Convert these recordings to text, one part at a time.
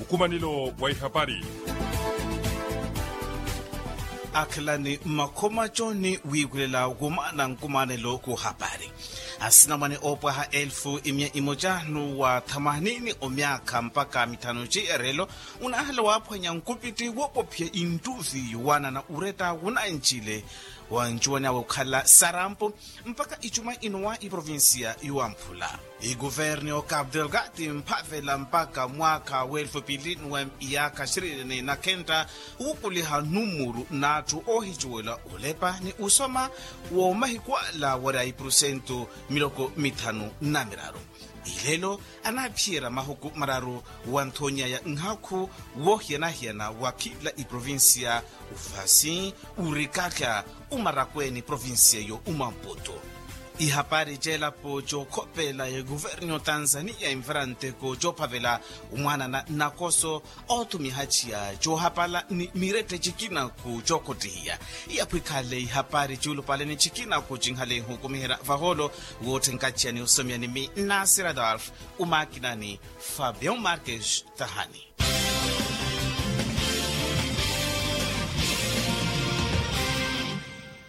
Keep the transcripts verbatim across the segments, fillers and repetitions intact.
Nkumanelo wa ihapari. Akhelani mmakhomaco ni wiiwelela womaana nkumanelo ku hapari. Asinamwane oopwaha elfu imiya imoca nuwa thamanini omyaakha mpakha mithanu ci erelo, unahala waaphwanya nkupitti woopophiya intuvi yowaanana uretta wunancile wa ncuwani awe okhala sarampo. Mpakha icuma inowa iprovincia yowamphula, ikuverni okapu delgati mphavela mpakha mwaakha welfu pili nuwem iyaakha shirini na khenta, wukuliha numuru n'atthu oohicuwela olepa ni usoma woomahiku ala wari a ipurusentu miloko mithanu na miraru. Ilelo anaaphiyerya mahuku mararu wa nthonyaya nhakhu woohiyana-hiyana wa khila iprovincia, ufasi, urikakha, umarakweeni provincia yo umamputu. Ihapari c'elapo cookhopela ya kuverni otanzania invaranteko coophavela omwaana na nakoso oothumiha ciya coohapala ni mirette cikinaku cookhottihiya. Iyaphwikhale ihapari ciulupale ni cikinaku cinhale ihukumiherya vahoolo wootthenkaciya ni osomiya ni mi nasir adolf, umakinani fabian marques tahani.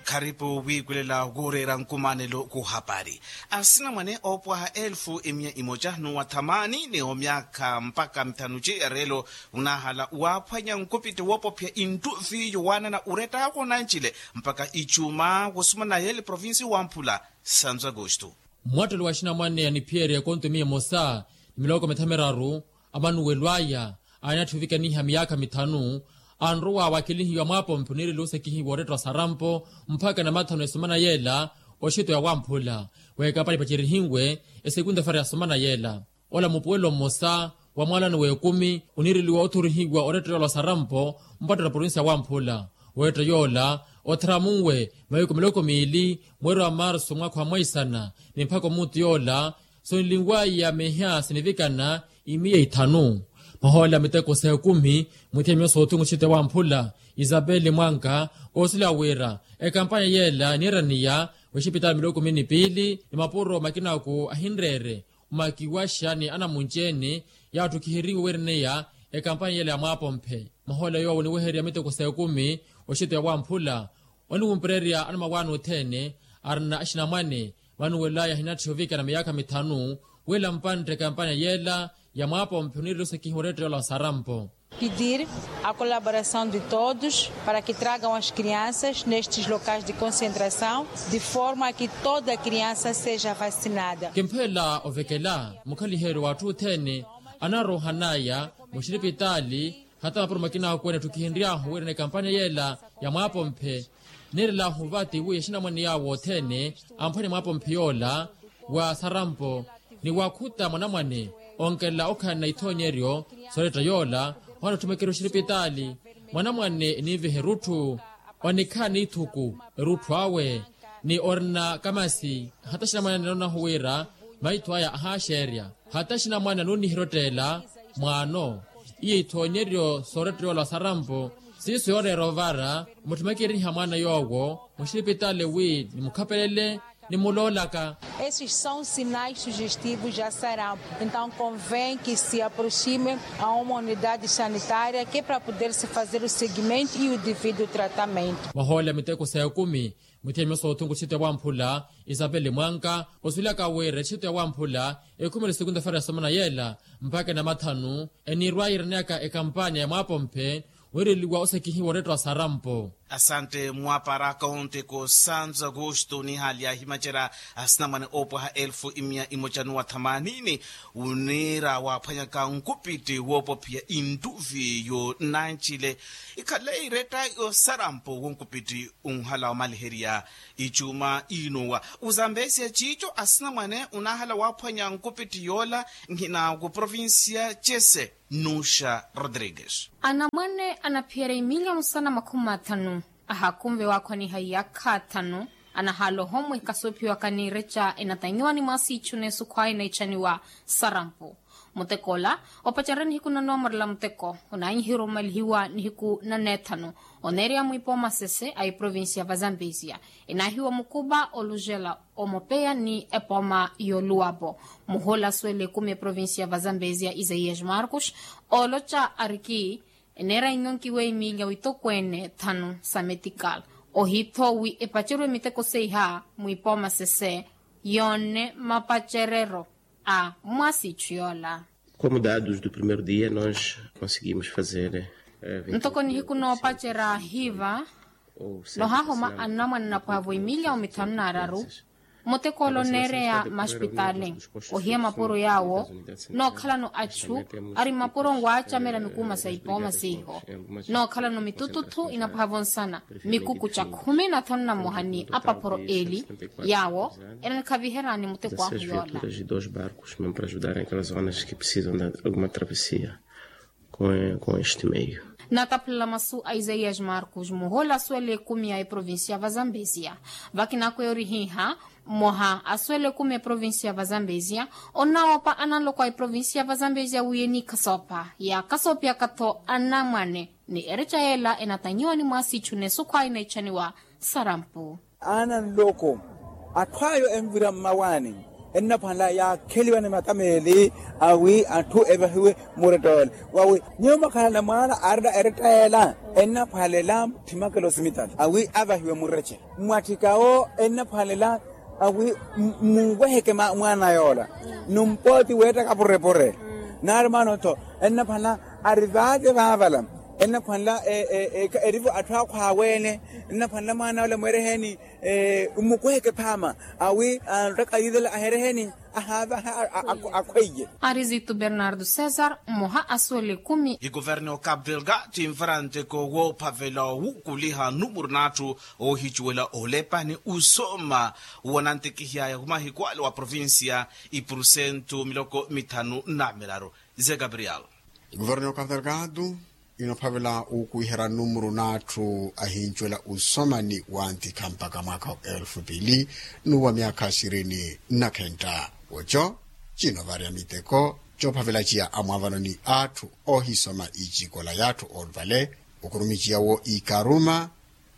Kharipu wiikulela wooreera nkumanelo kuhapari. Asinamwane oopwaha elfu imiya imoca nuwa thamani ni omyaakha mpakha mithanu ci ereelo, unahala waaphwanya nkupitti woopophiya inttuvi yowaanana uretta ako nancile mpakha icuma wosumana yele provinsi wamphula. Santu agosto. Mwattelo wa axinamwane aniphiyerya ekonto miya emosa ni miloko mithamiraru, amanuwelo aya aanatthivikaniha miyaakha mithanu, anrowa waakelihiwa mwaapompe oniireliwa osekihiwa worettwa sarampo mpakha namathanu esomana yeela. Oxito ya wamphula weekapali pacerihiwe esekunta fara ya somana yeela. Ola mupuwelo mmosa wa mwalano w'ekumi oniireliwa othorihiwa oretta yoola osarampo mpatto na provinsi ya wamphula. Oretta yoola otharamunwe mahiku miloko miili mweeri wa marsu mwaakha wa mwaisana ni mpakha omuutu yoola sonlinwaya meha sinivikana imiya ithanu. Mahoole a miteko s'ekumi mwithiya myosa othungu oxite wamphula isapeli mwanka oosila wira ekampanya yeela eniiraniya w'exipitali miloko kumi ni piili ni mapuro makinaku ahinreere omakiwaxa ni anamunci-ene yaatthukiheriwe weereniya ekampanya yeela ya mwaapomphe. Mahoole yoowo oniwehererya miteko s'ekumi oxito ya wamphula oniwumpererya anamawaani othene arina axinamwane vanuwelaya ahinatthiya ovikana miyaakha mithanu wila mpantte ekampanya yeela ya mwaapomphe oniireliwa osekihiwa oretta yoola osarampo. Pedir a colaboração de todos para que tragam as crianças nestes locais de concentração de forma a que toda criança seja vacinada. Kimpheela ovekela mukhaliheryo w'atthu othene anaroohanaya muxiripitaali hata mapuro makinaku ene etthukihenry'ahu wira n'ekampanya yeela ya mwaapomphe. Neerel'ahu vati wi axinamwane yaawo othene amphwanya mwaapomphe yoola wa sarampo ni waakhuta mwanamwane onkelela okhalana ithoonyeryo sooretta yoola. Ohaana otthumekerya oxiripitaali mwanamwane eniiviha erutthu onikhala n'ithuku erutthu awe ni orina kamasi hata axinamwane anonahu wira maitho aya ahaaxeerya hata axinamwane anooniherya otteela mwaano. Iyo ithoonyeryo sooretta yoola osarampo siiso yooreera ovara omutthumekeryiha mwaana yoowo muxiripitaali wi nimukhapelele nimuloolaka. Esses são sinais sugestivos de sarampo, então convém que se aproxime a uma unidade sanitária que é para poder se fazer o seguimento e o devido tratamento. Mahoole a miteko s'ekumi mwithiya myosa othunku oxito ya wamphula isapeli mwanka osuwelaka wira exito ya wamphula ekhumela esekunta fara ya somana yeela mpakha enamathanu eniirwaya iraneyaka ekampanya ya mwaapomphe wiireliwa osekihiwa oretta wa sarampo. Asante mwaparaka onteko santu agosto nihali yaahimacerya asinamwane oopwaha elfu imiya imoca nuwa thamanini oniira waaphwanyaka nkupitti woopophiya intuvi yo nancile ikhale iretta yo sarampo wonkupitti unhala wamaliherya. Icuma inowa uzambesiya ciico asinamwane unahala waaphwanya nkupitti yoola nhina ku provincia cese nuxa rodrigues. Anamwane anaphiyerya imiliyoni sana makhumi mathanu ahakunve waakhwaniha iyaakha athanu anahaala ohomweka soophiwaka ni ireca enatanyiwa ni mwaasi icu neesukhwaya eneecaniwa sarampo. Muteko ola opacerya nihiku na noomorela muteko onaanyihiwa omalihiwa nihiku na neethanu. Oneereya mwiipooma sese a eprovincia va zambezia enaahiwa mukuva olujela omopeya ni epooma y'oluwapo. Muhula suwela ekumi eprovincia va zambezia isaias marcos ooloca ariki eneera inyo nkiwa emilya witokweene thanu sa metikal ohiitho wi epacerwe miteko seiha mwiipooma sese yoone mapacerero a mwaasiichu yoola. Como dados do primeiro dia nós conseguimos fazer ntoko nihiku noopacerya hiiva nohaahoma annamwane napwaavo emilya omithanu n'araru. Muteko ola oneereya masipitaali ohiya mapuro yaawo nookhalano achu ari mapuro nwaacamela mikuuma sa ipooma siiho nookhalano mitututhu inapwaavo nsana mikuku ca khumi na thanu na mmoha ni apapuro eeli yaawo enanikhaviherani muteko ahu yoola. Dos barcos mesmo para ajudarem aquelas zonas que precisam de alguma travessia com este meio. Nataphulela masu a isaias marcos muhula asuwela ekumi a eprovincia va zambezia vakinakweya orihiiha mmoha asuwela ekumi a eprovincia va zambezia onawoopa analoko a eprovincia va zambezia wi eniikhasoopa yaakhasoopiyaka-tho anamwane ni ereca yeela enatanyiwa ni mwaasiichu n'esukhwayi na ichaniwa sarampu. Ana nloko atthu ayo envira mmawaani ennaphwanela yaakheliwa ni matameeli awi atthu evahiwe muretta yoole wawi nyuwo mwakhalana mwaana arina eretta yeela ennaphwalela muthimakela osimitali awi avahiwe muretta mwatthikawo ennaphwalela awi munweheke mwaana yoola numpooti weettaka purepure naari mwaana ottho ennaphwanela ari vaate vaavala ennaphwanela erivo atthu akhwaaweene ennaphwanela mwaana ola mweereheni mmukweheke phaama awi anrottaka yiithela ahereheni ahaavaha akhweiye. Ari zitu bernardo césar mmoha asuwela ekumi. Ikuverni okapu delgado invaranteko woophavela owukuliha numuru n'atthu oohicuwela olepani usoma wanantikihiyaya humahiku ale wa provincia ipurusentu miloko mithanu na miraru. Ze gabriel. Ikuverni okapu delgado inophavela wukuwiherya numuru n'atthu ahincuwela usoma ni wantikha mpakha mwaakha wa elfu pili n'uwa myaakha sirini na khenta woco cinovarya miteko coophavela ciya amwaavano ni atthu oohisoma icikola y'atthu olupale okurumiciya wo ikaruma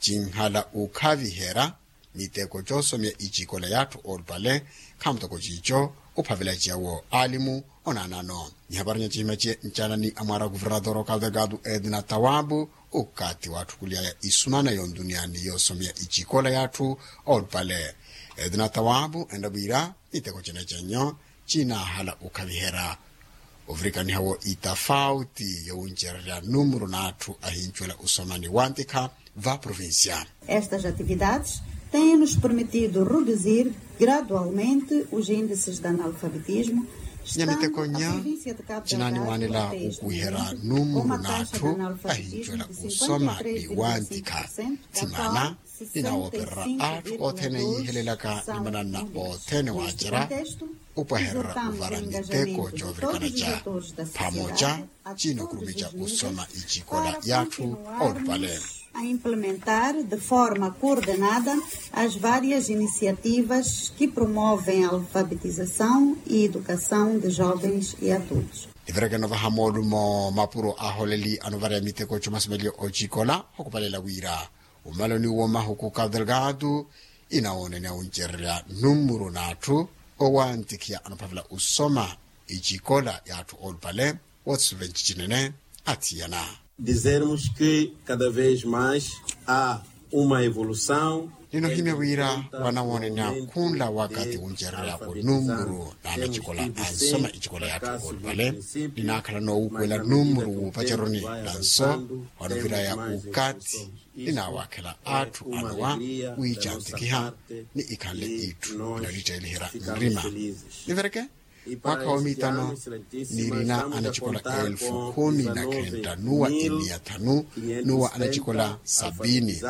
cinhala ukhaviherya miteko coosomya icikola y'atthu olupale khamutoko ciico ophavela ciya wo alimu onaanano. Nihaparinya cihima ciye ncaana ni amwaara a kuvernatoro okapu delgado edna tawabu okathi waatthukuliyaya isumana yontuniyani yoosomya icikola y'atthu olupale edna tawabu enra wira miteko cina cenyo cinaahala okhaviherya ovirikaniha wo itafauti yowuncererya numuru n'atthu ahincuwela usoma ni wantikha va provincia. Estas atividades têm nos permitido reduzir gradualmente os índices de analfabetismo. Nyamitekonya cinaaniwanela okuwiherya numuru n'atthu ahincuwela usoma ni wantikha thimana ninawoopererya atthu othene yiihelelaka ni mananna othene waacerya opwahererya ovara miteko coovirikana ca phamoca cinokurumica osoma icikola y'atthu olupale. A implementar de forma coordenada as várias iniciativas que promovem a alfabetização e educação de jovens e adultos. Niverekeno vaha moolumo mapuro aholeli anovareya miteko comasomelyo ocikola okupalela wira omaloni wo mahuku cabo delgado inawoonene awuncererya numuru n'atthu owantikhiya anophavela osoma icikola y'atthu olupale wothisuvenci cinene athiyana. Dizermos que cada vez mais há uma evolução. Ninohimya wira wanawoonene akhunla wakathi wuncererya onumuru n'anacikola ansoma icikola y'atthu olupale ninaakhala noowukuwela numuru wuupaceroni nanso wanoviraya ukathi ninaawakhela atthu anowa wiicantikiha ni ikhanle itthu inalitteliherya nrima. Nivereke mwaakha wa mitano nirina anacikola elfu khumi na khenta n'uwa imiya thanu n'uwa anacikola sabini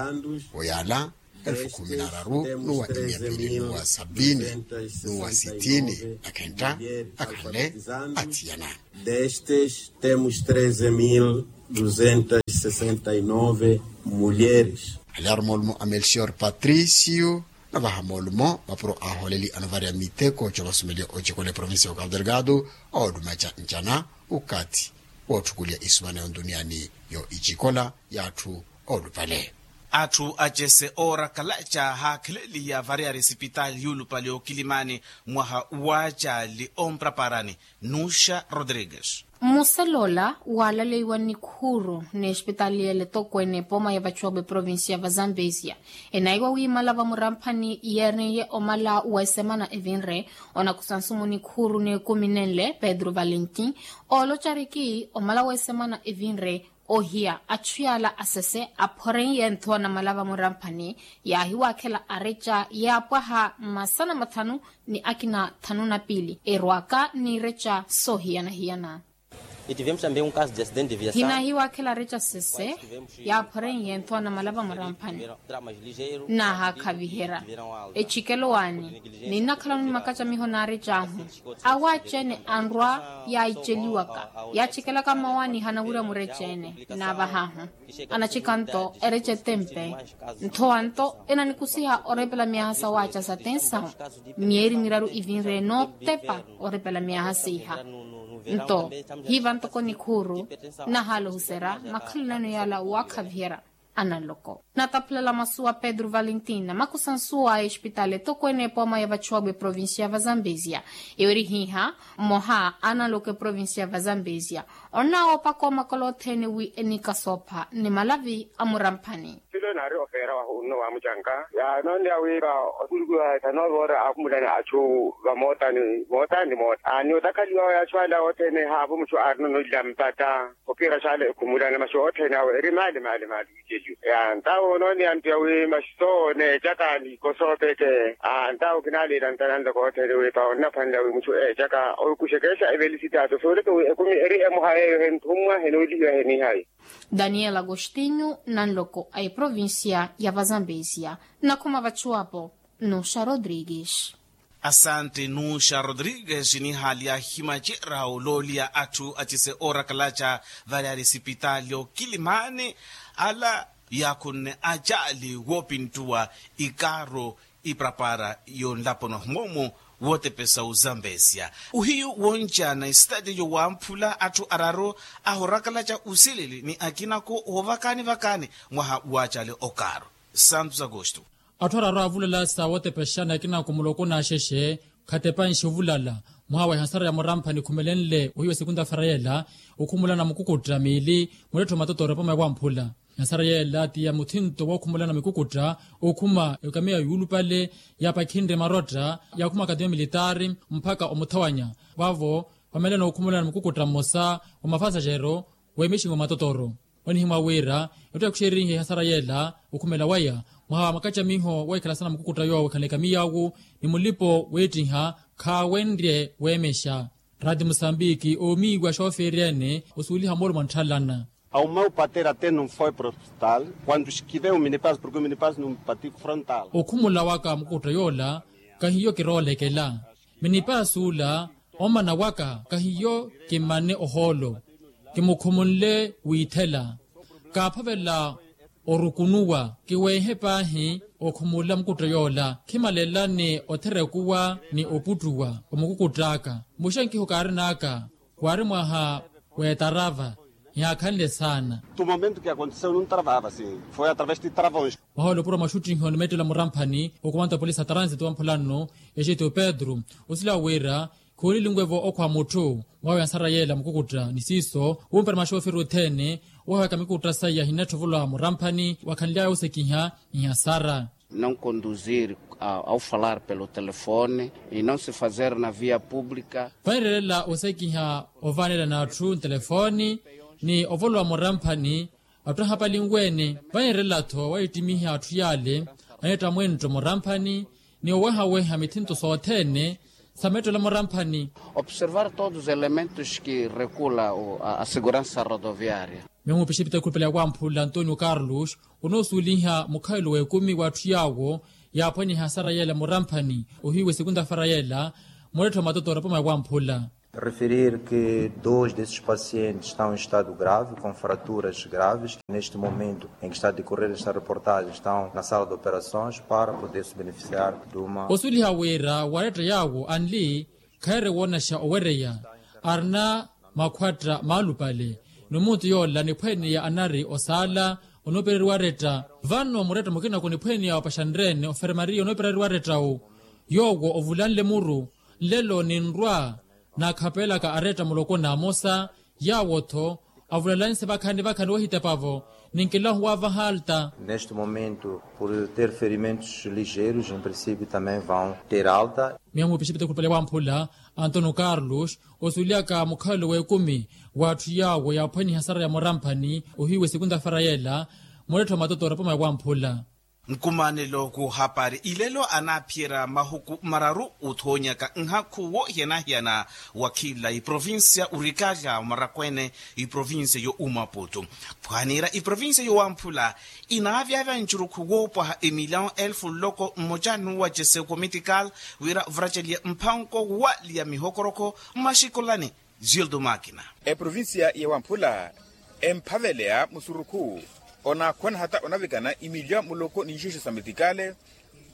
oyala elfu khumi na raru n'uwa imiya pili n'uwa sabini n'uwa sitini na khenta akhanle athiyana. Destes temos treze mil duzentas sessenta e nove mulheres. Alyarumolumo a melchior patricio Navaha moolumo mapuro a ahooleli anovareya miteko ca ovasumeliya ocikola eprovincia ya okapu delgado, oolumaca ncana ukathi wootthukuliya isumana yontuniani yo icikola y'atthu oolupale. Atthu acese oorakalaca haakheleliya variyari esipitaali yuulupale okilimani mwaha waacali ompraparani. Nuxa rodrigues. Mmuselola waalaleiwa nikhuuru n'espitaali y'ele etokweene epooma ya vacuwabu eprovincia va zambezia, enaiwa wiimala vamuramphani yeeriye omala w'esemana evinre. Onakusa nsumu nikhuuru n'ekumi nenle pedro valentin oolocariki omala w'esemana evinre ohiya achu yaala asese aphoreiye nthowa namala vamuramphani yaahiwaakhela areca yaapwaha masana mathanu ni akina thanu na piili erwaka n'ireca soohiyana-hiyana. Hinahiwaakhela areca sese yaaphoreiye nthowa namala vamuramphani naahaakhaviherya ecikelo waani. Ninnakhalano ni makacamiho n'arecahu awaacene anrwa yaiceliwaka yaacekelaka mmawaani hanawirya mureca-ene naavah'ahu anacikanto ereca etempe. Nthowa nto enanikusiha orepela myaha sawaaca satensahu myeeri miraru ivinre nootepa orepela myaha siiha. Nto hiiva ntoko nikhuuru nahaala ohuserya makhalelano yaala waakhaviherya. Analoko nataphulela masu wa pedro valentina makusansuwa a espitaali etokweene epooma ya vachuwabu eprovincia va zambezia. Iwerihiha mmoha analoko eprovincia va zambezia onnawoopaka omakolo othene wi enikasoopha ni malavi a muramphani. Silo naari ofeera wahu nno waamucanka yaanonneya wiipa otulikiwa ethanoovoora akhumulana achu vamootani mootani ni moota ni otakhaliwa wa yaachu ala othene haavo muchu aarinono ila mpata. Okiira xaala ekhumulana maxi othene awe eri maali maali maali. Iceliwe yaantawo onooneya ntiya wi maxi sooneecaka nikosoopeke. Antawo kinaaleela ntananloko othene wiipa onnaphwanela wi muchu eecaka okuxekexa evelisitato sooleke wi ekumi eri emoha yeeyo henthummwa henoolihiwa henihayi. Daniel agostinho nanloko a eprovincia ya vazambezia. Nakhuma vachuwapo nuxa rodrigues. Asante nuxa rodrigues nihaali yaahimacerya olooliya atthu acise oorakalaca. Vale ali esipitaali okilimani ala yaakhunne acaali woopintuwa ikaaro iprapara yonlaponi ohimoomu wootepesa ozambezia. Ohiyu woncaana esitaati yowamphula atthu araru ahorakalaca osilili ni akinako woovakani vakani mwaha waacali okaaro. Santos agosto. Atthu araru aavulala sa wootepexana akina akumuloko n'axexe khatepanxe ovulala. Mwaha wa ehasara ya muramphani khumelenle ohiyu wa sekunta farayela okhumulana mukukutta miili mulettho matotooro epoma ewamphula. Ehasara yeela ti ya muthinto wookhumulana mikukutta okhuma ekamiya yuulupale yaapakhinre marotta yaakhuma akademia militaari mpakha omuthawanya. Vaavo vamelana okhumulana mukukutta mmosa wa mafasaxero w'emixingo matotoro. Onihimwa wira etto yaakhuxerihe ehasara yeela okhumela waya mwaha wa makacamiho weekhalasana mukukutta yoowo ekhanle ekamiya awu ni mulipo weettiha khaawenrye weemexa. Rati musambiki oomiiwa xoofeeri ene osuuliha moolumo antthalana. Ao meu patera até não foi para o hospital quando esquivei o minipass porque o minipass não bati frontal. Okhumula waka mukukutta yoola kahiyo kiroolekela. Minipaasi ola omana waka kahiyo kimmane ohoolo. Kimukhumulele wiithela kaaphavela orukunuwa kiweehe paahi. Okhumula mukutta yoola khimalela ni otherekuwa ni oputtuwa omukukutt'aka. Muxenkiho kaarin'aka waari mwaha w'etarava yaakhanle saana. Tu momento ke aconteceu num travava sim foi através de travões. Mwaha olopuro mwaxuttiho ni mettelo muramphani okumanta polisi a transito wamphula nno exeto pedro osila wira khoolilinwevo okhwa mutthu mwawe ansara yeela mukukutta ni siiso wumpera maxooferi othene owahaweka mikukutta saiya hinnatthi ovolwa muramphani wakhanly'aya osekiha. Nhasara. Não conduzir ao falar pelo telefone e não se fazer na via pública. Vanirelela osekiha ovanela n'atthu ntelefoni ni ovolowa muramphani. Atthu ahapalinwe-ene vanirelela-tho wayittimiha atthu yaale aneetta mwentto muramphani ni owehaweha mithinto sothene sa mettola muramphani. Observar todos os elementos que regula a segurança rodoviária. Miyo mupixe epitaka ekhulupale ya wamphula antonio carlos onoosuweliha mukhalelo w'ekumi w'atthu yaawo yaaphwaniha asara yeela muramphani ohiiwa esekunta fara yeela mulettho matotooro poma ya wamphula. Referir que dois desses pacientes estão em estado grave, com fraturas graves, que neste momento em que está a decorrer esta reportagem estão na sala de operações para poder se beneficiar de uma. Osuliha wira waretta yawo anli khaire woonaxa owereya arina makhwatta maalupale ni omuntu yoola niphweneya anari osaala onoopereriwa aretta. Vano muretta mukina kuniphweneya opaxanrene ofermariya onoopereriwa arettawo yoowo ovulanle muru nlelo ninrwa naakhapelaka aretta muloko n'amosa yaawo-tho avulalanyise vakhani vakhani wahitepavo ninkilahu waavaha alta. Neste momento por ter ferimentos ligeiros em princípio também vão ter alta. Miya muupixipite khulupale wamphula antono carlos osulyaka mukhalelo w'ekumi w'atthu yaawo yaaphwaniha sara ya muramphani ohiiwe sekunta fara yeela murettho matoto orapoma ya wamphula. Nkumanelo k'ohapari ilelo anaaphiyerya mahuku mararu othoonyaka nhakhu wohiyana-hiyana wa khila iprovincia orikala marakwene iprovincia yo umaputu phwanira iprovincia yo wamphula inaavyavya ncurukhu woopwaha emilyawo elfu nloko mmoja nuwacese okomitikal wira vuraceliye mphanko waliya mihokorokho mmaxikolani. Gildo makina. Eprovincia ya wamphula emphaveleya musurukhu onaakhwana hata onavikana imilya muloko ni nxixo sa mitikale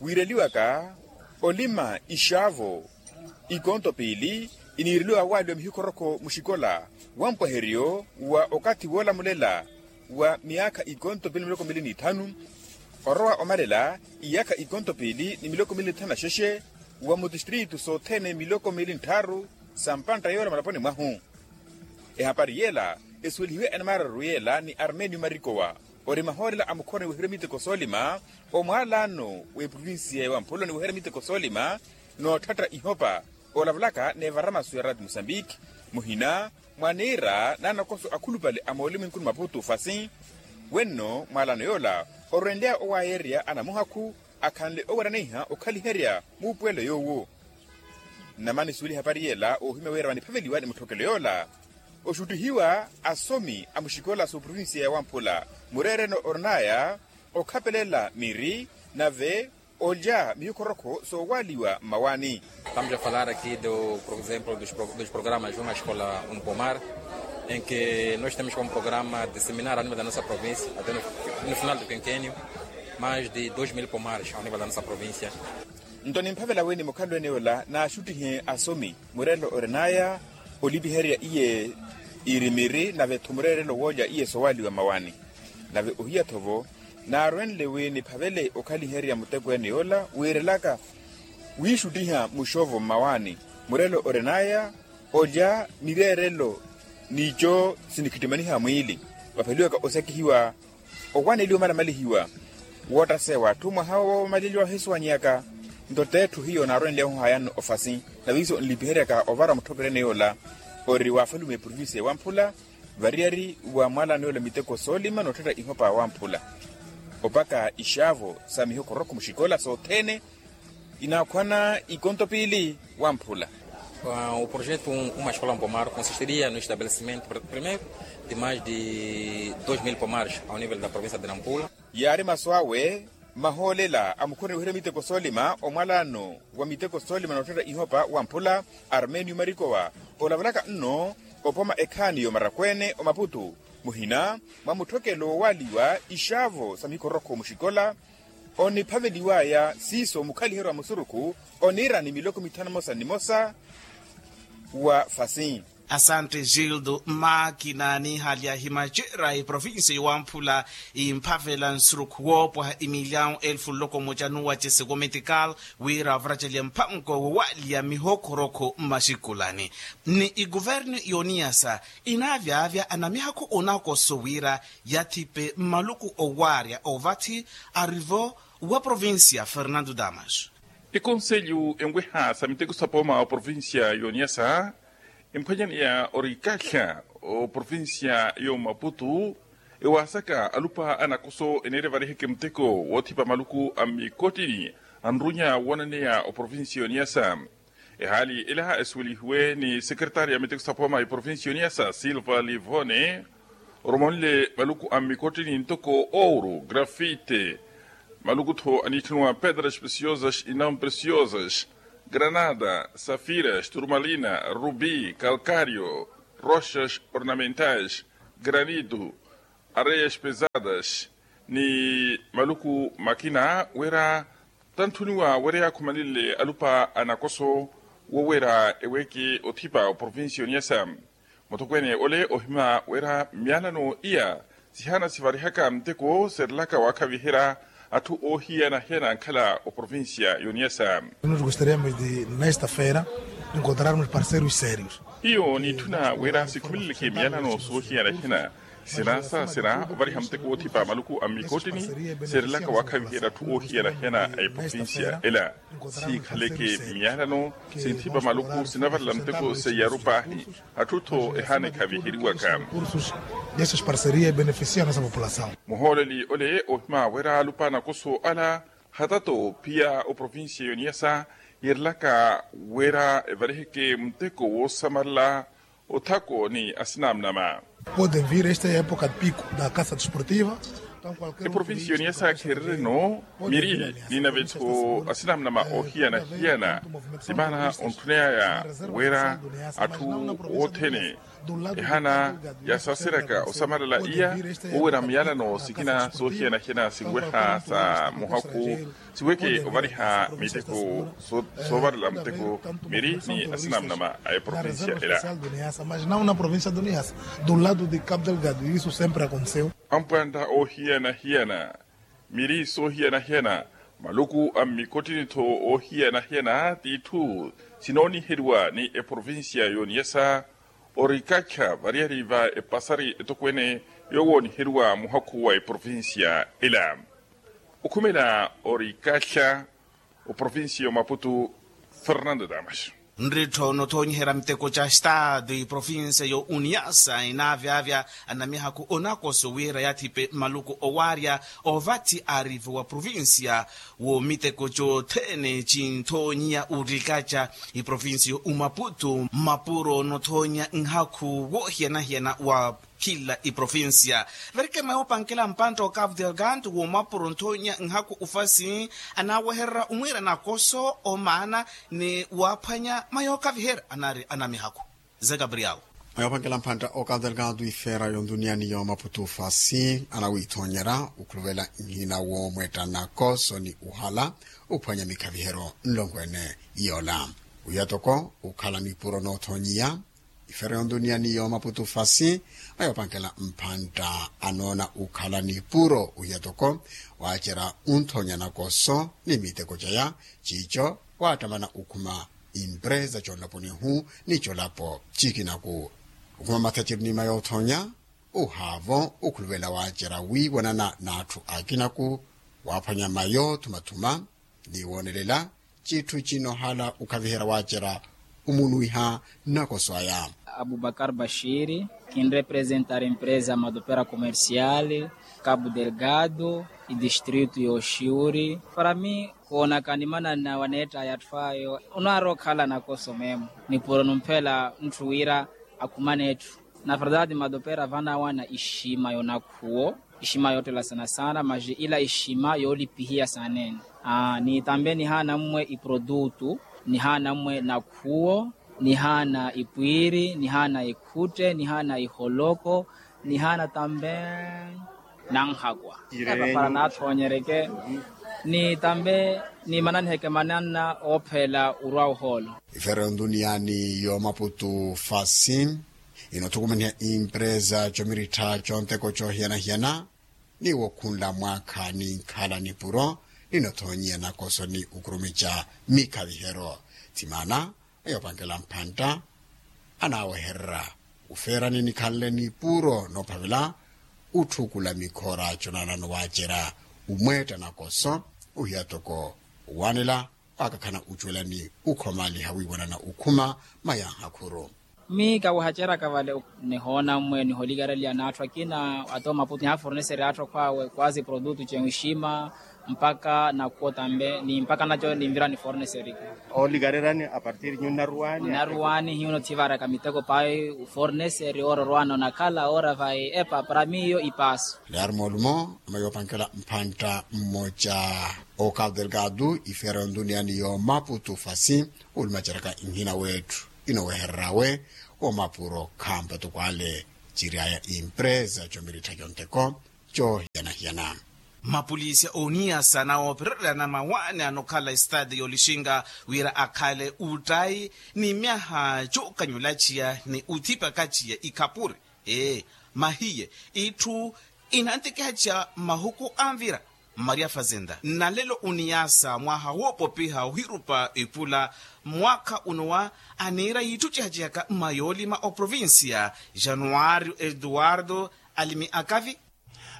wiireliwaka olima ixavo ikonto piili iniireliwa waaliwa mihikhorokho muxikola wa mpwaheriyo wa okathi woolamulela wa miyaakha ikonto piili ni miloko miili n'ithanu orowa omalela iyaakha ikonto piili ni miloko miili n'ithanu na xexe wa mutistritu sothene miloko miili n'tthaaru sa mpantta yoola malaponi mwahu. Ehapari yeela esuwelihiwe enamararu yeela ni armenio marikowa ori mahoolela a mukhoroni weherya miteko soolima omwaalaano w'eprovinsiya ya wamphula ni weherya miteko soolima nootthatta ihopa oolavalaka n'evaramaso ya rati musambiki muhina mwa niira n'anakoso akhulupale a moolimu enkunu maputu fasi wenno mwaalaano yoola orwenleya owaayerya anamuhakhu akhanle oweraneiha okhaliherya muupuwelo yoowo. Nnamani suweliha epari yeela oohimya wira vaniphaveliwa ni mutthokelo yoola oxuttihiwa asomi a muxikola sa oprovinsiya ya wamphula mureereno orinaya okhapelela miri nave olya mihikhorokho soowaaliwa mmawaani. Estamos a falar aqui do por exemplo dos programas uma escola um pomar em que nós temos como programa disseminar a nível da nossa província até no final do quinquênio mais de dois mil pomares a nível da nossa província. Nto nimphavela wini mukhalweni ola naaxuttihe asomi mureerelo orinaya olipiherya iye irimiri nave-tho mureerelo woolya iye soowaaliwa mmawaani nave ohiya-tho-vo naarwenle wi niphavele okhaliherya muteko ene yoola wiirelaka wiixuttiha muxovo mmawaani mureerelo orinaya olya mireerelo n'ico sinikhittimaniha mwiili vapheliwaka osakihiwa owaneliwa omalamalihiwa woottaseya w'atthu mwaha woomaleliwa ohisuwanyaka nto t'etthu hiyo naarwenly'ahu hayanno ofasi nave iso nlipiheryaka ovara mutthokelo ene yoola ori waafalume eprovinsiya ya wamphula variyari wa mwaalaano yoola miteko soolima nootthetta ihopa wamphula opaka ixaavo sa mihokorokho muxikola sothene inaakhwana ikonto piili wamphula. O projeto uma escola um pomar consistiria no estabelecimento primeiro de mais de dois mil pomares ao nível da província de nampula. Yaari masu awe mahoolela a mukhuruni weherya miteko soolima omwalaano wa miteko soolima noottetta ihopa wamphula armenio marikowa olavalaka nno opoma ekhaani y'omarakweene omaputu muhina mwa mutthokelo woowaaliwa ixaavo sa mikorokho muxikola oniphaveliwaya siiso mukhaliheryo wa musurukhu oniira ni miloko mithanu mosa ni mosa wa fasi. Asante gildo makina niihalyahi macera eprovinsiya y'owamphula imphavela nsurukhu woopwaha imilyawu elfu nloko mmoja nuwacese wometikal wira avaracelya mpanko wowaliya mihokhorokho mmaxikulani ni ikuvernu y'oniyasa inaavyavya anamihakhu onakoso wira yathipe mmaluku owaarya ovathi arivo wa provincia fernando damas. Ekonselyu enweha sa miteko sapoma oprovincia y'oniyasa emphwanyaneya orikahya oprovincia y'omaputu ewaasaka alupa anakoso eneere variheke muteko woothipa maluku a mmikottini anrunya woonaneya oprovincia y'oniyasa. Ehaali elaha esuwelihiwe ni sekeretaari ya miteko saphoma eprovincia y'oniyasa silva livone oromonle maluku a mmikottini ntoko ouro grafite maluku-tho aniitthaniwa pedras preciosas e não preciosas Granada, safiras, turmalina, rubi, kalkario, roxas, ornamentais, granitu, areias pesadas, ni maluku makina wira tanthuniwa wira yaakhumanile alupa a nakoso wowira eweke othipa oprovincia yoniyasa. Mutokweene ole ohima wira myalano iya sihana sivarihaka nteko serilaka waakhaviherya atthu oohiyana-hiyana ankhala oprovincia yoniyasa. Nos gostaríamos de nesta feira encontrarmos parceiros sérios. Hiyo niitthuna wira sikhumeleleke miyalano soohiyana-hiyana sinasaasera ovariha muteko woothipa maluku a mmikottini serilaka waakhaviherya atthu oohiyana-hiyana a eprovincia ela. Siikhaleke miyalano sinthipa maluku sinavarela muteko seiyaru paahi atthu-tho ehaana ekhaviheriwaka. Cursos dessas parcerias beneficiam a nossa população. Muhooleli ole ohima wira alupa a nakoso ala hatato pia oprovincia yoniyasa yiirilaka wira evariheke muteko woosamarela othako ni asinamnama. Podem vir esta época de pico da caça desportiva. Eprovincia yoniyasa kheerereno miri ni nave-tho asinamnama oohiyana-hiyana. Timaana ontthuneyaya wira atthu othene ehaana yasaaseryaka osamarela iya wowira miyalano sikina soohiyana-hiyana sinweha sa muhakhu siweke ovariha miteko soovarela muteko miri ni asinamnama a eprovincia ela. Mas não na província do niasa, do lado de cabo delgado isso sempre aconteceu. Ampwanta oohiyana-hiyana miri soohiyana-hiyana maluku a mmikottini-tho oohiyana-hiyana t'itthu sinooniheriwa ni eprovincia yoniyasa. Orikakha variyari va epasari etokweene yoowooniheriwa muhakhu wa eprovincia ela. Okhumela orikakha oprovincia y'omaputu. Fernando damas. Nrittho nothoonyiherya miteko ca estado iprovincia yo uniyasa inaavyavya anamihakhu onakoso wira yaathipe maluku owaarya ovathi arivo wa provincia wo miteko cothene cinthoonyiya urikaca iprovincia yo umaputu mmapuro nothoonyiya nhakhu woohiyana-hiyana wa khila iprovincia. Verikema yoopankela mpantta okavu delgado womapuro nthoonya nhaku ufasi anaawehererya omwiira nakoso omaana ni waaphwanya mayookhaviherya anaari anamihaku. Ze gabriel. Mayoopankela mpantta okavu delgado ifeera yonduniya ni yoomaputu ufasi anawiithoonyerya okhuluvela nhina woomwetta nakoso ni uhala ophwanya mikhaviheryo nlongo ene. Yoola wiya toko ukhala nipuro noothoonyiya ifere yondunia ni yoomaputu fasi. Ayopankela mphantta anoona ukhala nipuro ohiya toko waacerya onthoonya nakoso ni miteko caya ciico waattamana okhuma impresa conlaponihu ni colapo cikinaku okhuma mathaciri ni mayoothonya ohaavo okhuluvela waacerya wiiwanana n'atthu akinaku waaphwanya mayo thumathuma ni woonelela citthu cinohala okhaviherya waacerya omunwiha nakoso aya. Abubakar bashiri kinrepresentari empresa madopera comercial kabu delgado idistrito yoxiuri para mi koonaka nimananna waneettaya atthu ayo onaari okhala nakoso meemo nipuro numphela ntthu wira akhumane etthu na verdade madopera vanawana ixima yonakhuwo ixima yoottela sana sana maxi ila ixima yoolipihiya saneene. Ni tambe nihaana mmwe iprodutu nihaana mmwe nakhuwo nihaana ipwiiri nihaana ikhutte nihaana iholoko nihaana tambe nanhakwa para naathoonyereke ni tambe nimananiheke mananna oophela orwa ohoolo. Ifere yondunia ni yoomaputu fasi inothukumaniha impresa comirittha conteko coohiyana-hiyana ni wokhunla mwaakha ni nkhala nipuro ninothoonyiya nakoso ni okurumica mikhaviheryo. Thimaana ayopankela mphantta anaawehererya ofeerani nikhanle nipuro noophavela otthukula mikhoora conaanano waacerya omweetta nakoso ohiya toko owaanela waakakhana ocuwela ni okhomaliha wiiwanana okhuma mayanhakhuru. Mi kawihaceraka vale nihoona mmwe niholikareliya n'atthu akina ata omaputu nihaaforneserya atthu akhwaawe kwazi produtu cen ixima Mpaka nakuwo tambe ni mpaka naco ninvira ni forneseri. Oolikarerani apartir nyunnaruwani? Nnaruwani hiyo nothivaraka miteko payi. Forneseri oororwana onakhala oora vayi epa para miyo ipaaso. Learmolumo ama yoopankela mphantta mmoca, okapu delgado ifera yontuniyani yoomaputu fasi olumaceraka nhina wetthu inowehereryawe. Womapuro khampa tukwale ciryaya impresa comirittha conteko. Coohiyana-hiyana. Mapolisi a oniyasa nawoopererya na mawaani anokhala estade yolixinga wira akhale uttayi ni myaha cookanyulaciya ni uthipakaciya ikhapuri. Ee, mahiye itthu inantekehaciya mahuku anvira. Maria fazenda nalelo oniyasa mwaha woopopiha ohirupa epula. Mwaakha unowa aniira yitthu cihacihaka mmayoolima oprovincia januario eduardo alimi akavi.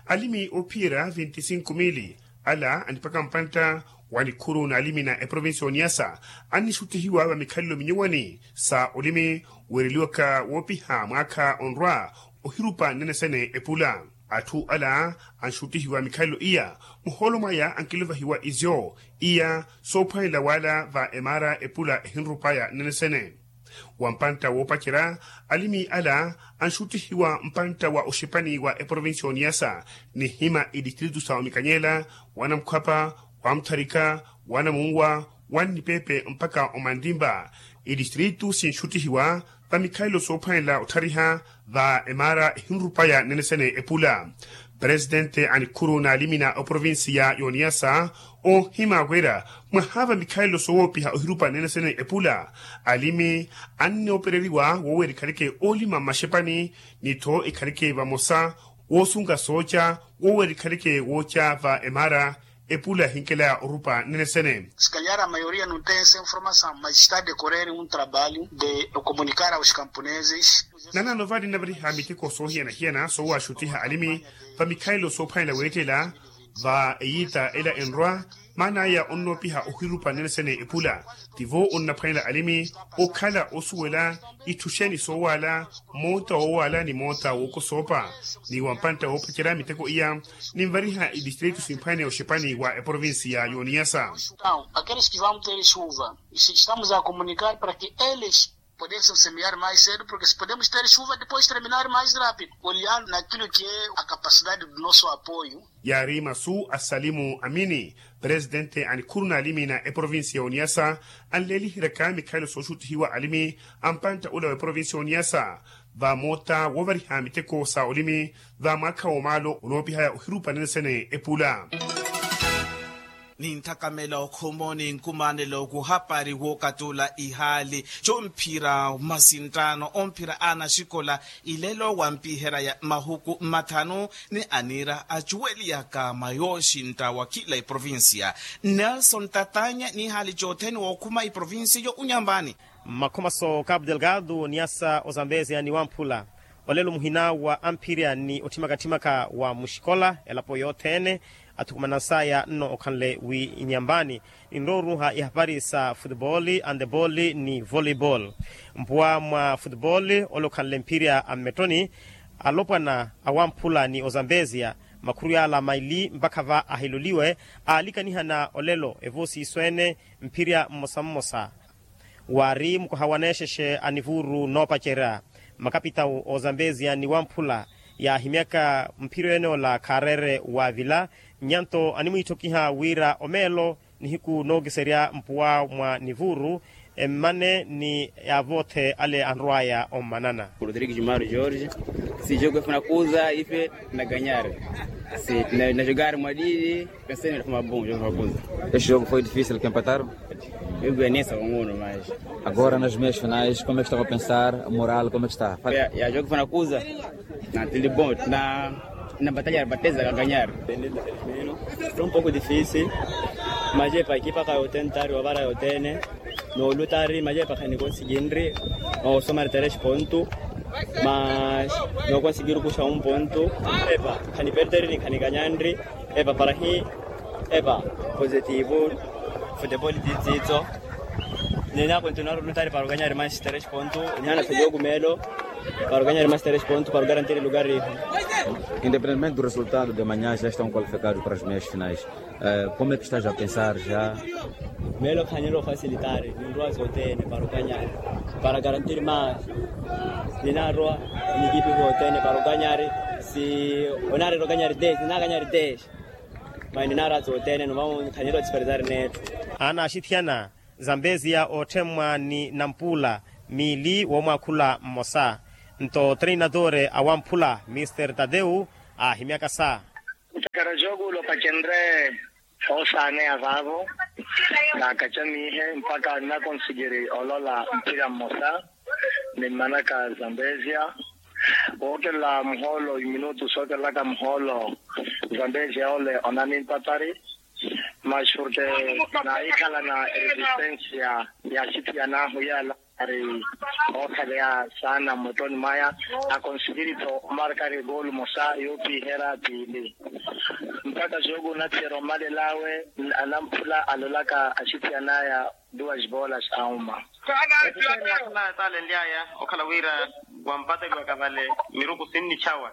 Alimi oophiyerya vinti sinku mili ala anipaka mpantta wa nikhuru n'alimi na eprovincia oniyasa annixuttihiwa va mikhalelo minyuwani sa olimi weereliwaka woopiha mwaakha onrwa ohirupa nnene sene epula. Atthu ala anxuttihiwa mikhalelo iya muhoolo mwaya ankiluvahiwa izyo iya soophwanela wala va emaara epula ehinrupaya nnene sene. Wa mpantta woopacerya alimi ala anxuttihiwa mpantta wa oxipani wa eprovincia oniyasa nihima itistritu sa omikanyela wanamukhwapa wamutharika wanamunwa wannipepe mpaka omantimpa. Itistritu sinxuttihiwa va mikhalelo soophwanela otthariha va emaara ehinrupaya nnene sene epula. Presitente a nikhuru n'alimi na oprovincia y'oniyasa oohima wira mwaha va mikhalelo sowoopiha ohirupa nnene sene epula. Alimi annoopereriwa woowera ikhaleke oolima mmaxepani ni-tho ikhaleke vamosa woosunga sooca woowera ikhaleke wooca va emaara epula yahinkelaya orupa nnene sene. Sikanyara mayoria nuntense nforma sa majistade correre un trabalho de okomunikara os camponeses. Nanaano vali nnavariha miteko soohiyana-hiyana soowaxuttiha alimi va mikhalelo soophwanela weettela va eyiita ela enrwa maana aya onnoopiha ohirupa nnene sene epula. Tivo onnaphwanela alimi okhala osuwela itthu xeeni soowaala moota woowaala ni moota wookosoopa. Ni wa mpantta woopacerya miteko iya ninvariha itistritu simphwaneya oxipani wa eprovincia y'oniyasa. Aqueles que vão ter chuva estamos a comunicar para que eles podem semear mais cedo porque se podemos ter chuva depois terminar mais rápido olhando naquilo que é a capacidade do nosso apoio. Yaari masu a salimu amini presitente a nikhuru n'alimi na eprovincia y'oniyasa anleeliheryaka mikhalelo sooxuttihiwa alimi a mpantta ula wa eprovincia y'oniyasa va moota woovariha miteko sa olimi va mwaakha woomaalo onoopihaya ohirupa nnene sene epula. Ninthakamela okhumo ni nkumanelo kuhapari wookatula ihaali comphira masinttaano omphira a naxikola ilelo wampiheraya mahuku mmathanu ni aniira acuweliyaka mwa yooxintta wa khila eprovincia. Nelson tatanya n'ihaali cothene wookhuma eprovincia yo unyambani. Mmakhomaso cabo delgado niyasa ozambezia ni wamphula olelo muhina wa amphirya ni otthimaka-tthimaka wa muxikola elapo yothene athukumana saya nno okhanle wi inyambani ninrowa oruuha ihapari sa futebol, andebol ni volleybol. Mpuwa mwa futebol ole okhanle mphirya a mmettoni alopwana awamphula ni ozambezia makhuru yala maili mpakha va ahiloliwe aalikanihana olelo evoosiiso ene mphirya mmosa mmosa. Waari mukoha waneexexe a nivuuru noopacerya makapitawu ozambezia ni wamphula yaahimyaka mphiryo ene ola khaareere waavila nyanto animwiithokiha wira omeelo nihiku nookiserya mpuwa mwa nivuuru emmane ni yaavoothe ale anrwaya ommanana. Rodrigues mario george. Si jogo efuna kuza ife na ganyar. Si na jogar mwadidi. Pensei na fuma bom jogo funa kuza. Este jogo foi difícil que empataram. Jogo ya nesa kungunu mas agora nas meias finais como é que estava a pensar moral como é que está? Ya jogo funa kuza. Na tili bom na na batalha bateza ka ganyar. Foi um pouco difícil. Mas epa ekipa ka yotentari wavara yotene. Noolutari mas epa khani konsiginri. Osomari teresh pontu mas nokonsigiru kuxa un pontu. Epa khani perderini khani ganyanri. Epa parahi. Epa positivo. Futebol titsitso. Nena kontinuaru lutari para ganyari mas teresh pontu. Nihana sajoku melo. Para ganhar mais três pontos para garantir o lugar. Independentemente do resultado de amanhã, já estão qualificados para as meias finais. Como é que estás a pensar já? Melo khanelo facilitar ninroa zotene para ganhar, para garantir mais. Ninarwa nikipi zotene para ganhar. Si onarero ganhar dez nina ganhar dez. Mai ninara zotene no vamos khanelo disparidar neto. Ana axithiyana, zambezia ootthemmwa ni nampula miili woomwaakhula mmosa. Nto treinadore awamphula mister tadeu aahimyaka sa. Ntakara jookuula opacenre oosaaneya vaavo, naakacamiihe mpakha nnakonsikiri olola mpira mmosa. Nimmanaka zambezia, wookelela muhoolo eminutu sookelelaka muhoolo. Zambezia ole onanimpatari. Mas porque naahikhalana eresistensia ya axithiyan'ahu yaala ari ookhaleya saana mmottoni mwaya. Akonsikiri-tho omarkari goolu mosa yoopiherya piili. Mpakha jooku onathiyerya omalel'awe, anamphula alolaka axithiyan'aya duas bolas a uma. Etaale nly'aya okhala wira wampateliwaka vale miruku sinnichawa.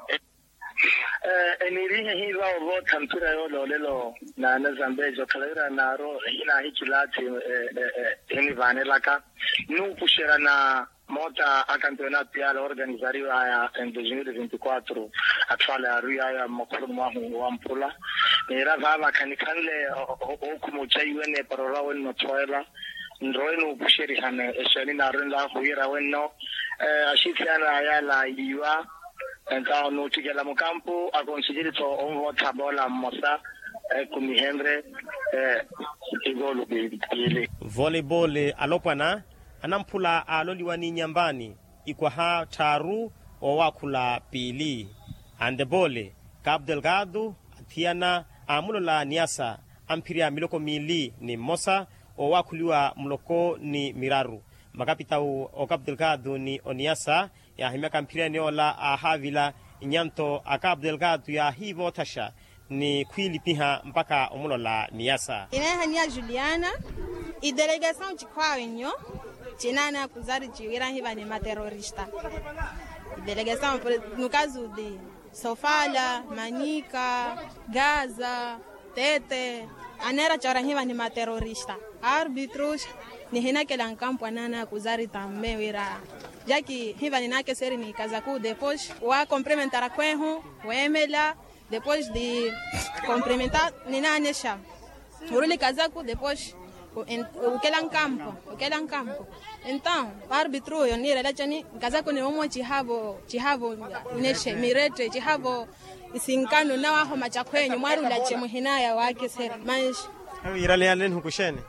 Eniirihe hiiva ovootha mpira yoole olelo na anazambezi okhala wira naaru ehinaahikilathi. Enivaanelaka nuupuxerya na moota a kampeonato yaala organizariw'aya en dois mil e vinte e quatro. Atthu ala yaarwiy'aya mmakhuluni mwahu wamphula. Niira vaava khanikhanle ookhuma ocaiwene para orwa wenno othoela. Nrowe nuupuxerihane exeeni naarwenl'ahu wira wenno axithiyan'aya yaala yiiwa. Entawo nuuttikela mukampu akonsikiri-tho onvootha boola mmosa. Ekumihenrye ikoolu piili. Voleibole alopwana anamphula aaloliwa ni nyambani ikwaha tthaaru oowaakhula piili. Andebole, kapu delgado, athiyana aamulola niyasa amphirya miloko miili ni mmosa oowaakhuliwa muloko ni miraru. Makapitawu okapu delgado ni oniyasa yaahimyaka mphirya eniy'ola aahaavila. Inyanto akapu delgado yaahiivoothaxa ni khwiilipiha mpakha omulola niyasa. Ineehaniya juliana. Idelegasawu cikhwaawe nnyo cinaana kuzari ciwira hiva ni materorista. Idelegasawu nukazudi sofala, manika, gaza, tete, aneera cora hiva ni materorista. Arbitrus nihinakela nkampu anaana kuzari tamme wira jaki hiva ninaakeseri ni kazaku depois wa komprimentara khwehu weemela. Depois di komprimentar ninaanexa oruli kazaku depois ukela nkampo. Ukela nkampo. Entaw, arbitrus yo niirela cani? Kazaku ni momo cihavo cihavo inexe mirette cihavo isinkano nawahoma cakhwenyu mwarula ce muhinaya waakesera manxi. Ewi iraleyanle nhuku xeeni?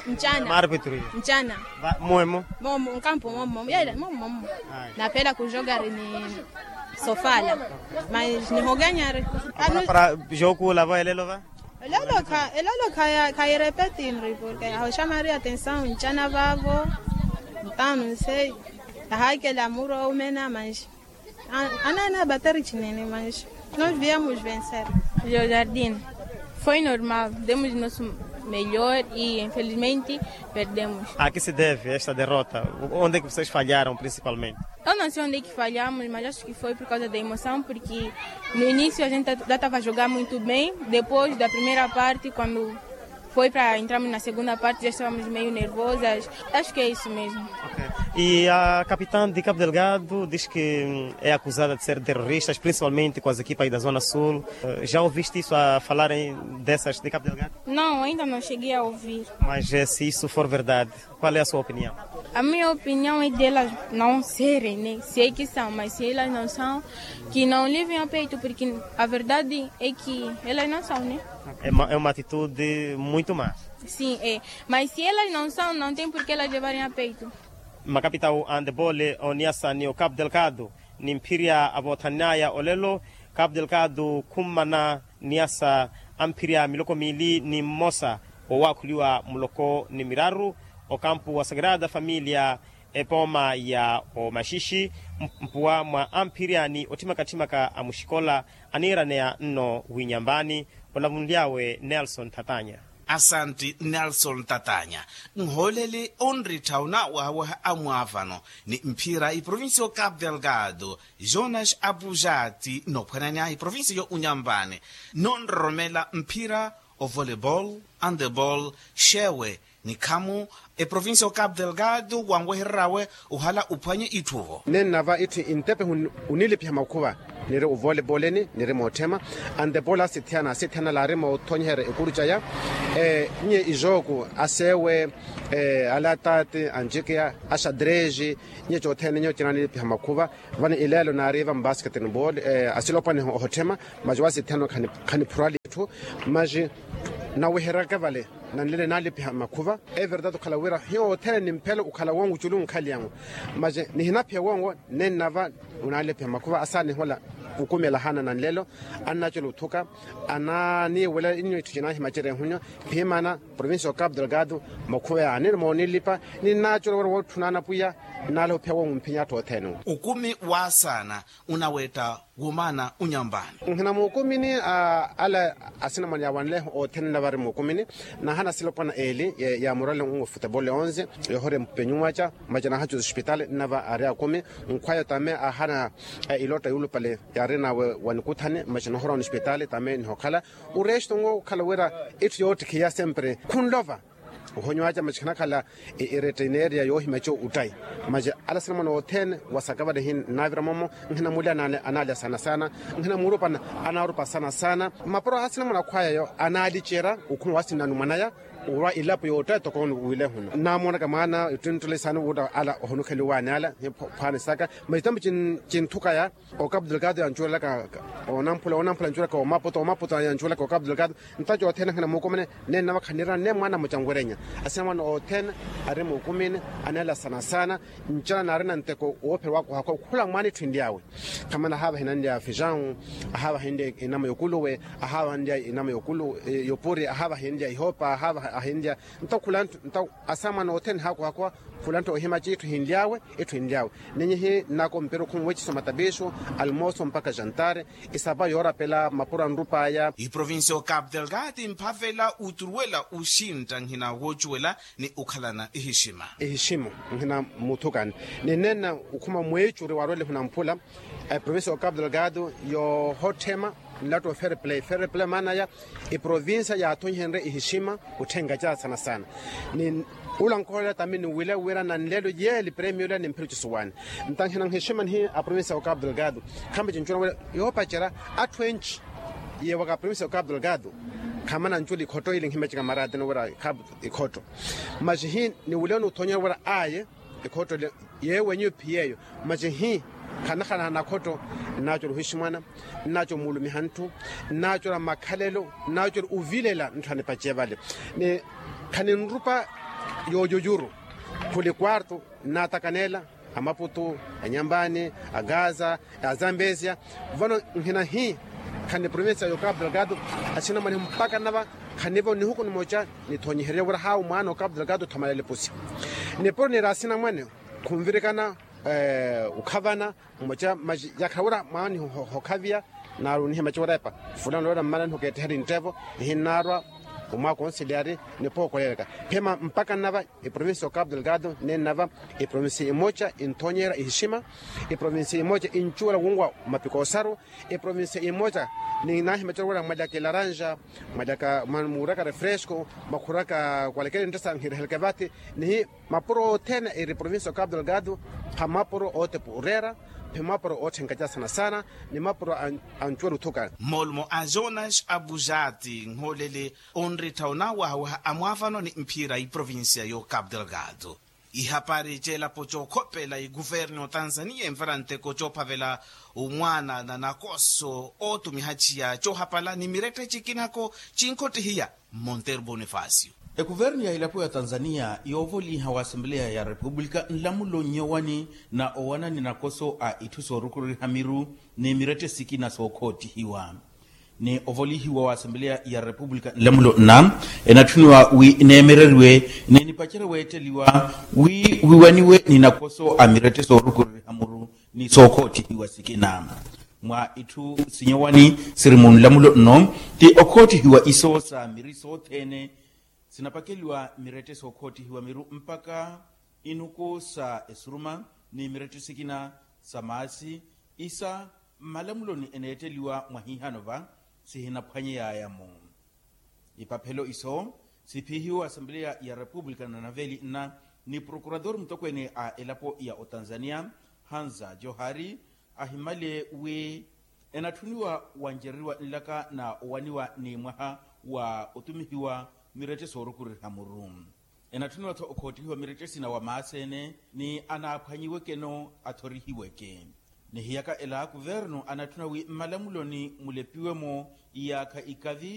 Ncana. Maarpitru iyo. Ncana. Mmomo. Momo nkampu momo yela momo momo. Napela kujogari ni sofala mas nihoganyari. Para jokuula vo elelo va? Elelo kha elelo khaya khayirepeti nri porke ahoxamari atensawu ncana vavo. Ntanu nsei. Ahakela muru oumena manxi. Anana batari chinene manxi. Nos viemos vencer. Jardin. Foi normal, demos nosso melhor e infelizmente perdemos. A que se deve esta derrota? Onde é que vocês falharam principalmente? Eu não sei onde é que falhamos mas acho que foi por causa da emoção porque no início a gente já estava a jogar muito bem, depois da primeira parte quando foi para entrarmos na segunda parte já estávamos meio nervosas. Acho que é isso mesmo. E a capitã de Cabo Delgado diz que é acusada de ser terroristas principalmente com as equipas da zona sul. Já ouviste isso a falarem dessas de Cabo Delgado? Não, ainda não cheguei a ouvir. Mas se isso for verdade, qual é a sua opinião? A minha opinião é delas não serem né, se é que são mas se elas não são, que não levem a peito porque a verdade é que elas não são né. É uma atitude muito má. Sim é. Mas se elas não são não tem porquê elas levarem a peito. Makapitawu a handebole oniyasa ni o Cabo Delgado, ni mphirya avoothan'aya olelo. Cabo Delgado khummana niyasa amphirya miloko miili ni mmosa owaakhuliwa muloko ni miraru. Okampu wa sagrada familia epooma ya omaxixi mpuwa mwa amphirya ni otthimaka-tthimaka a muxikola aniiraneya nno winyambani. Olavunly'awe nelson thatanya. Asanti nelson tatanya. Nhooleli onrittha onaawahawaha amwaavano ni mphira iprovincia o capu delgado, jonas apujati nophwananya iprovincia yo unyampani, nonroromela mphira, ovolleyball, handeball, xewe, nikhamu eprovincia o capu delgado wanwehereryawe ohala ophwanye itthu-vo. Nennava itthu intepe, unilipiha makhuva, niri ovolleyball-eni niri mootthema, handeball asithiyana asithiyana laari moothonyeherya ekuru caya. Nye ijooku, aseewe, alataati, anjikiya, axadreji, nye cothene nyo cinanilipiha makhuva. Vano ileelo naariva mbasketball, asilopwana ohotthema, masi wasithiyana khaniphurali itthu, masi naweheryaka vale, nanlele naalipiha makhuva. Everdade okhala wira hiyo othene nimphelo okhala wongu culu nkhaliyangu, masi nihinaphiya wongo, nennava, onalipiha makhuva asaanihola, okumela haana nanlelo, annacula othuka, ananiiwela inyo itthu cinaahimacerya ehunyo, phimana provincia o capu delgado, makhuva yaani moonilipa, ninacula wira wootthuna anapwiya, nnaala ophiya wongo mphinya atthu othene. Okumi waasaana, onawetta womaana onyampani. Nhina muukumini, ala asinamwane yaawanleho othene nnavari muukumini, naahana silopwana eli, yaamurale ongo futebole onze, yohorya mpenyuwaca, maci naahacuza ospitali nnava ari akumi. Nkhwaya tame aahana, ilotta yuulupale yaarinawe wa nikuthani maci nohorya onespitali tame nihokhala. Oresto nwo okhala wira itthu yoottikhiya sempre khunlova. Ohonyiwaca maci khanakhala, eretteineeriya yoohimaca ottayi. Maci ala asinamwane othene, wasaka vale hinnavira momo, nhina muli anaalya saana saana, nhina murupa anaarupa saana saana. Mapuro asinamwane akhwaya yo anaalicerya okhuma wasinnanu mwanaya, orwa ilapo yoottayi toko wile huno naamoonaka mwaana ittunttule saani wuuta ala ohonukheliwaani ala, phwaani saka. Maci tambo, cinthukaya, o capu delgado yancuwelelaka, onamphula onamphula yancuwelaka omaputo omaputo yancuwelaka o capu delgado. Ntaco othene akhina muukumene, nennava khanirina ne mwaana mucanwerenya. Asinamwane othene, ari muukumene, aneela saana saana. Ncana naarina nteko woophera waakuhakwa okhula mwaana itthu enly'awe. Khamana ahaava hinanlya fijawu, ahaava hinlya inama yokuluwe, ahaava hinlya inama yokulu, yopuri ahaava hinlya ihopa ahaava ahinlya. Nto khula nthu nto, asamwana othene haakuhakwa, khula nthu ohimaca itthu hinly'awe, itthu hinly'awe. Ninyihi nnako mpira okhumuwecisa omatapiixu, almoso mpakha jantare, isapa yoorapela mapuro anrup'aya. Iprovincia o capu delgado imphavela oturuwela oxintta nhina woocuwela, ni okhalana ihixima. Ihixima, nhina muthukani. Ni nenna okhuma mweecuri waarwele hunamphula, eprovincia o capu delgado yoohotthema, nlatta o fair play fair play maana ya, eprovincia yaathonyihenrye ihixima, otthenka caasana saana. Ni ula nkholela tami niwile wira nanlelo yeeli premio ila nimphira ocisuwaani. Ntanhina nhixima nihi aprovincia o capu delgado, khambe cincuwela wira yoopacerya atthu enci, yeewaka aprovincia o capu delgado, khamana ncula ikhotto ili nhimeceka maraatini wira capu ikhotto. Maxi hi niwile onuthonyela wira aye, ikhotto ile yeewenyu ephiyeeyo. Maxi hi khanakhalana nakhotto, nnaacula ohiximwana, nnaacula omuulumiha ntthu, nnaacula makhalelo, nnaacula ovilela ntthu anipace vale. Ni khaninrupa yoojujuru, khuli quarto, nnaatakaneela amaputu, anyambani, agaza, azambesia. Vano nhina hi khani provincia yo capu delgado, asinamwane mpakha nnava khanivo nihuku nimoca nithonyiherye wira haawu mwaana o capu delgado othomalela epusi. Nipuro niri asinamwane khunvirikana, okhavana, mmoca maxi yakhala wira mwaani hokhaviya, naaru nihimaca wira epa fulano wira mmana nihokeetteherye nttevo, nihinnaarwa omwaakonsiliari nipookolelaka. Phema mpakha nnava eprovincia o capu delgado, nennava eprovincia imoca inthonyerya ihixima, eprovincia imoca incuwela wunwa mapikoosaru, eprovincia imoca ninaahimaca wira mwalyaka elaranja, mwalyaka muuraka refresco, mwakhuraka kwalekele nttasa nhireheleke vathi. Nihi mapuro othene eri provincia o capu delgado, pha mapuro ootepa oreera, phe mapuro ootthenka caasana saana, ni mapuro ancuwela othuka. Moolumo a jonas abujati nhooleli onrittha onaawahawaha a mwaavano ni mphira iprovincia yo capu delgado. Ihapari ceelapo cookhopela ikuvernu otanzania envara nteko coophavela omwaana na nakoso ootumiha ciya coohapala ni mirette cikinako cinkhottihiya. Monteiro bonifacio. Ekuvernu ya elapo ya tanzania yoovoliha wa asembleya ya repupulika nlamulo nnyowani na owanani nakoso a itthu soorukururiha miru ni mirette sikina sookhottihiwa. Ni ovolihiwa wa asembleya ya repupulika nlamulo nna enatthuniwa wi neemereriwe ni nipacerye weetteliwa wi wiwaniwe ni nakoso a mirette soorukururiha muru ni sookhottihiwa sikina. Mwa itthu sinyowani siri munlamulo nno ti okhottihiwa isoosa miri sothene. Sinapakeliwa mirettesi okhottihiwa miru mpakha inuku sa esuruma ni mirettesi ekina sa maasi, isa mmalamuloni eneetteliwa mwahiihano va sihinaphwanyeyaya-mo. Ipaphelo iso siphihiwa asambeleya ya repupulika na naveli nna ni prokuratori mutokweene a elapo ya otanzania, hanza johari, ahimale wi enatthuniwa wancereriwa nlaka na owaniwa ni mwaha wa otumihiwa mirettesi orukureriha muru. Enatthuniwa-tho okhottihiwa mirettesi na wamaaseene ni anaaphwanyiweke-no athorihiweke. Ni hiyaka ela kuvernu anatthuna wi mmalamuloni mulepiwe-mo iyaakha ikavi.